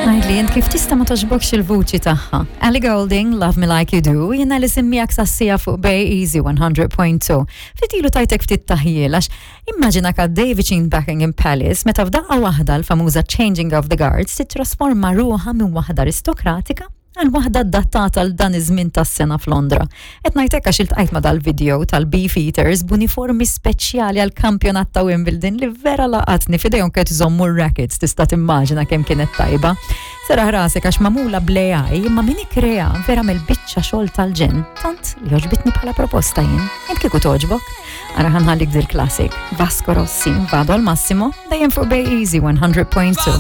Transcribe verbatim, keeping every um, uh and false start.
Għidli int kif tista' ma togħġbokx il-vuċi tagħha. Ellie Goulding, Love Me Like You Do, jiena li miegħek sas-siegħa fuq Bay Easy one hundred point two. Ftit ilu tajtek ftit taħjil għax immaġina għaddej viċin Buckingham Palace meta f'daqqa waħda l-famuża Changing of the Guards titrasforma ruħha minn waħda aristokratika għal waħda adattata għal dan iż-żmien tas-sena f'Londra. Qed ngħidlek għax iltqajt ma' dal-video tal-Beefeaters b'uniformi speċjali għal kampjonat ta' Wimbledon li vera laqatni. F'idejhom kienu jżommu rackets, tista' timmaġina kemm kienet tajba. Serraħ rasek għax magħmula bl-A I, imma min ikkrea vera mill-biċċa xogħol tal-ġenn, tant li għoġbitni bħala proposta jien. Int kieku togħġbok? Ara, ħa nħallik dil-classic. Vasco Rossi, Vado al Massimo, dejjem fuq Bay Easy one hundred point two.